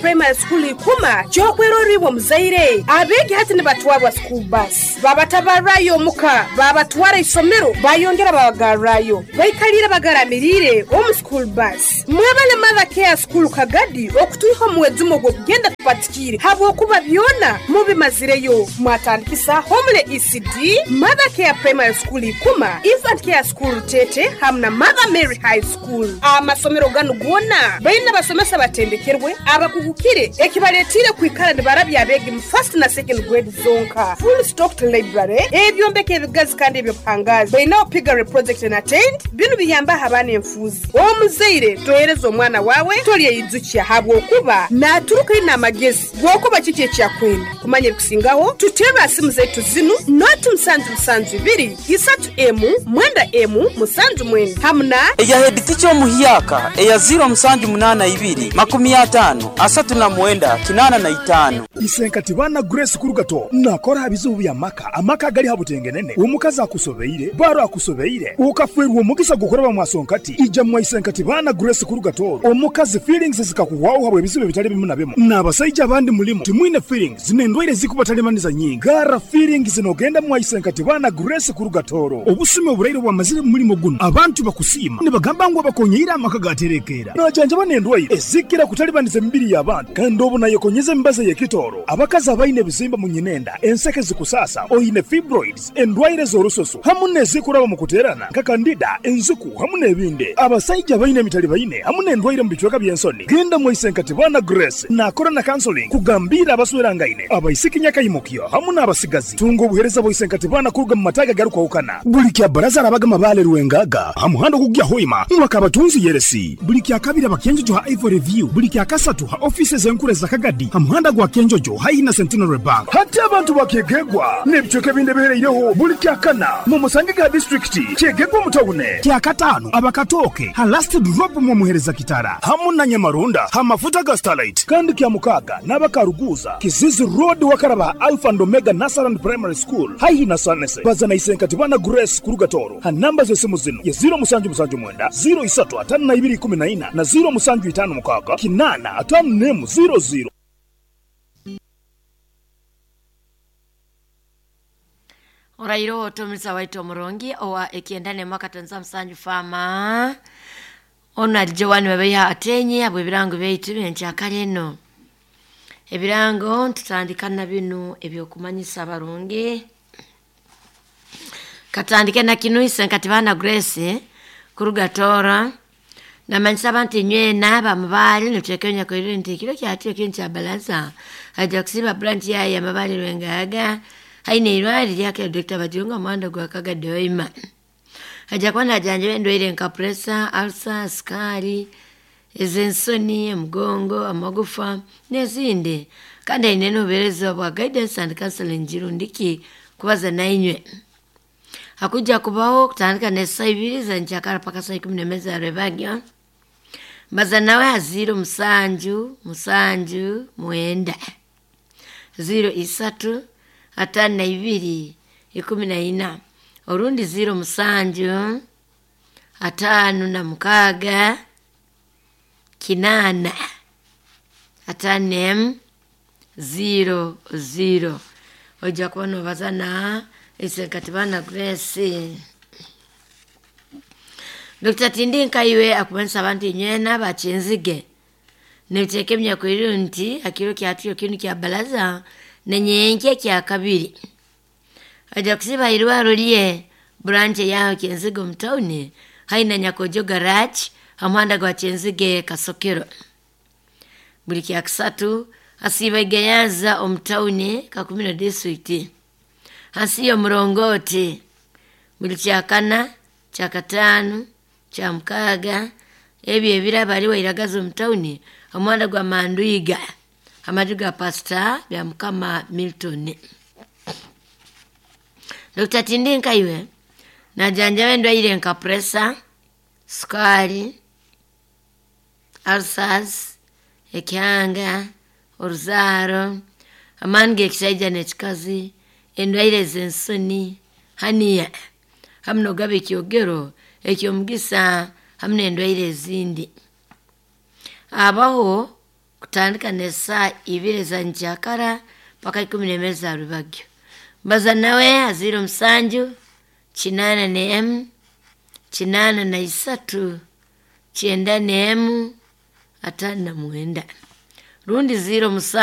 Primary School Ikuma ky'okwerorra iwe omuzaire. Abeegi hati nibatwarwa school bus, babatabarrayo omuka, babatwara isomero, bayongera babagarrayo. Baikaliire bagaramiriire omu school bus. Mwebale Mother Care School Kagadi okutwiha omu mwejumo gw'okugenda tupatikiire habwokuba byona mubimazireyo. Mwatandikisa Homely ECD, Mother Care Primary School Ikuma, Infant Care School Rutete hamu na Mother Mary High School. Amasomero ganu goona baine abasomesa abatendekerwe, abakugukire ekibaletiire kwikara nibarabya abeegi mu first na second grade zonka. Full stocked library, ebyombeko ebigazi kandi eby'obuhangaazi. Bainaho piggery project na tent, binu biyambaho abaana enfuuzi. Omuzaire tohereza omwana waawe tolyeyijukya habwokuba naaturuka aine amagezi g'okuba kiki eki akwenda. Kumanya ebikusingaho, tuterre aha simu zaitu zinu, noti musanju musanju ibiri, isatu emu, mwenda emu, musanju mwenda hamu na. Eya heditica omuhyaka eya ziiro musanju munaana ibiri, makumi ataano, asatu na mwenda, kinaana na itaano. Isenkati baana Grace Kurugato nakora aha bizibu by'amaka, amaka agali ha butengenene, omukazi akusobeire, baro akusobeire, okafeerwa omugisa gw'okuraba mwasonkati, ija mwa Isenkati baana Grace Kurugato, omukazi feelings zikakuhwaho habw'ebizibu ebitali bimu na bimu, n'abasaija abandi mulimu timwine feelings n'endwaire ezikubatalibaniza nyingi, garra feelings nogenda mwa Isenkati baana Grace Kurugatoro. Obusumi oburaire obwamazire mu mulimo gunu, abantu bakusiima nibagamba ngu abakonyeire amaka gaterekeera. Najanjaba n'endwaire ezikira kutalibaniza emibiri y'abantu kandi obu nayekonyeza emibazi ey'ekitooro, abakazi abaine ebizimba mu nyinenda, enseke zikusaasa, oine fibroids, endwaire z'orususu hamu n'ezikuraba omu kuteerana nka kandida, enziku hamu n'ebindi. Abasaija abaine emitalibaine hamu n'endwaire omu bicweka by'ensoni, genda mwa Isenkatibana Grace naakora na counseling kugambiira abaswerangaine, abaisiki nyakaimukyo hamu n'abasigazi. Tunga obuheereza bwa Isenkatibana kuruga mu mataagi agarukwahukana. Buli kya Baraza arabaga Mabaale Rwengaga ha muhanda ogukugya Hoima mwaka Abatunzi Yeresi. Buli kya Kabiri aba Kyenjojo ha Ivory View. Buli kya Kasatu ha ofiisi ez'enkuru eza Kagadi ha muhanda gwa Kyenjojo haihi na Centenary Bank. Hati abantu ba Kyegegwa n'ebicweka ebindi ebihereireho buli Kyakana mumusangege ha disiturikiti Kyegegwa omu tawune. Kyakataano aba Katooke ha Last Drop mwomuhereza Kitara hamu na Nyamarunda ha mafuta ga Starlight. Kandi Kyamukaaga n'aba Karuguuza, Kizizi Road wakaraba ha Alpha and Omega Nursery and Primary School haihi na Sanese. Baza na Isenkatibana Grace kuruga Tooro ha namba z'esimu zinu ye ziiro musanju musanju mwenda, ziiro isatu ataano na ibiri ikumi na ina na ziiro musanju itaano mukaaga kinaana ataano n'emu ziiro ziiro. Oraire otomisa waitu omurungi owa ekyenda nemu akatonza musanju faama onu ali Joan Babaiha Atenyi habw'ebirango byaitu byenkyakara eno. Ebirango ntutandika na binu eby'okumanyisa abarungi. Katandike na kinu Isenkatibana Grace kuruga Tooro namanyisa abantu inywena bamubaale nituteeka nyakoirire nti ekiro kyatu ekindi kya balaza aija kusiiba branch yaye ya Mabaale Rwengaga haine eirwari lyakira Dr. Bajunga omuhanda gwa Kagadi Hoima. Aija kuba najanjaba endwaire nka pressure, ulcer, sikaari, ez'ensoni, omugongo, amagufa n'ezindi kandi aine n'obuheereza bwa guidance and counseling jirundiki kubaza nainywe. Hakuja kubaho kutandika n'esaaha ibiri za nkyakara paka saa ikumi n'emwe za rwebagyo. Mbaza nawe ha ziiro musanju musanju mwenda ziiro isatu ataano na ibiri ikumi na ina orundi ziiro musanju ataano na mukaaga kinaana ataano n'emu ziiro ziiro. Oija kuba noobaza na Isenkatibana Grace. Dr. Tindinka iwe akumanyisa abantu inywena bakinzige nibiteeka ebinyakwirire nti hakiro kyatyo kinu kya balaza nenyenkya kya kabiri aja kusiba irwaro lye branch yaho Kyenzige omu tawuni haihi na Nyakojo garage ha muhanda gwa Kyenzige Kasokero. Buli kyakisatu asiiba Igayaza omu tawuni Kakumiro district hansi y'omurongoti. Buli kyakana, kyakataano, kyamukaaga ebyo ebiraba ali Wairagazi omu tawuni omuhanda gwa Mandwiga amaju ga Pastor Byamukama Milton. Dr. Tindinka iwe najanjaba endwaire nka pressure, sukaari, ulcers, ekihanga, oruzaaro, amaani g'ekisaija n'ekikazi, endwaire ez'ensoni, haniya hamu n'ogaba ekyogero eky'omugisa hamu n'endwaire ezindi. Abaho Kutandika n'esaa 2 za nkyakara paka 11 za rubagyo. Mbaza nawe aziro 7 81 83 91 59 rundi 0 7.